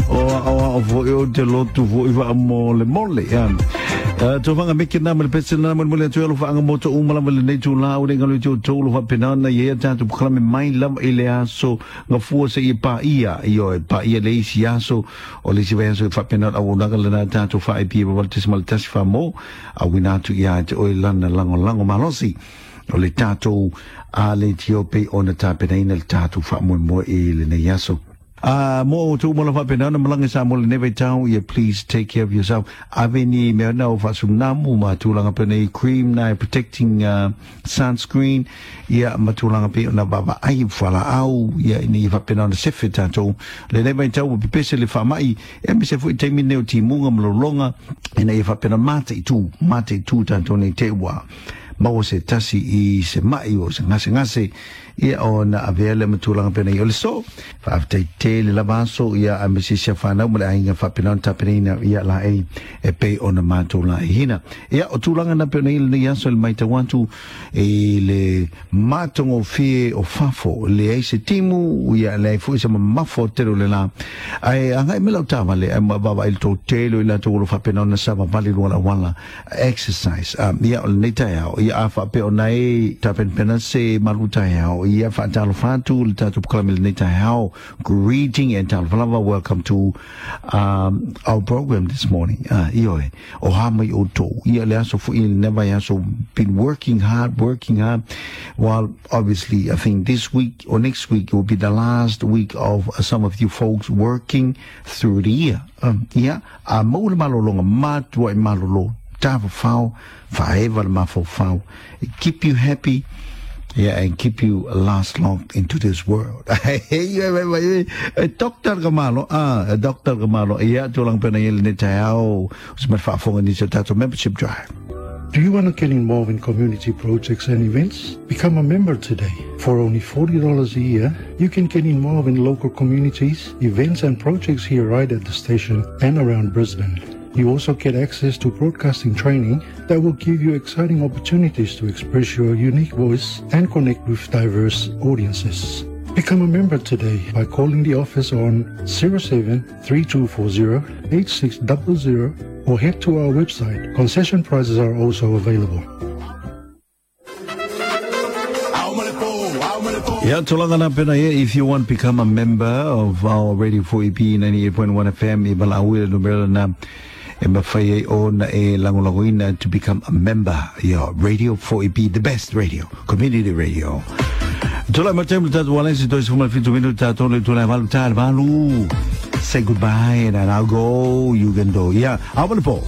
O o o foi o te lotu foi wa mo le mole ia. Tofanga meke na ma le pese na mo le atu alo faanga mo to uma lava le nei tū la o le ngalo te o tolu fa penana ia tātou pkalame mai lava i le aso ngafua se i pa ia i o pa ia le isi aso o le isi vai aso fa penana au naga le na tātou fa e pia wal tismal tasi fa mo a wina atu ia te oi lana lango lango malosi o le tātou a le tio pe o na tāpenaina le tātou fa mo mo i le nei aso. Mo tu mo la fa pena na malanga sa mo le neve tau ia, please take care of yourself. Ave ni mea na o fasunamu ma tulaga pene cream na protecting, sunscreen ia ma tulaga pe na baba ai fala au ia ni fa pena na sefe tātou le neve tau pepese le fa mai e me se fu te mi ne o timunga mlolonga e na ia fa pena mate tu tātou nei te wa maua se tasi i se mai o se ngase ngase ia o na avea le matulanga pena i o le so faafetai tele lava aso ia a me sisia whanau ma le aiga faapena ona tapenaina ia la e e pei ona matou laihina ia o tulaga na pena i lenei aso le maitau atu i le matagofie o fafo leai se timu ia leai foʻi se mamafo tele o le la ae agai me lau tavale ae vaavaai le totele o i latou o lo faapena ona savavali luga lauala exercise. Ia o lenei taeao ia a faapea ona e tapenapena se malu taeao ia faatalofa atu le tatou pkalame lenei taeao. Greeting and talofa lava, welcome to our program this morning. Ioe o ha mai o tou ia le aso foʻi le vai aso, been working hard, working hard. Well, obviously I think this week or next week will be the last week of some of you folks working through the year. Ia a mau le malologa matua i malolo tafafao faeva le mafaufau, keep you happy, yeah, and keep you last long into this world. Dr. Gamalo, Dr. Gamalo, ia tulang pena ile ne taeao, se ma faafoga nisi o tatou membership drive. Do you want to get involved in community projects and events? Become a member today. For only $40 a year, you can get involved in local communities, events and projects here right at the station and around Brisbane. You also get access to broadcasting training that will give you exciting opportunities to express your unique voice and connect with diverse audiences. Become a member today by calling the office on 07 3240 8600 or head to our website. Concession prices are also available. Yeah, tulaga na pena ia, if you want to become a member of our Radio 4EB 98.1 FM, e valaau i le numera na e mafai ai ona e lagolagoina to become a member. Yeah, Radio 4EB, the best radio, community radio. Tula ma temu tatu walensi toi sifuma fitu minu tatu le tula valu tal valu. Say goodbye and I'll go, you can go. Yeah, awale po.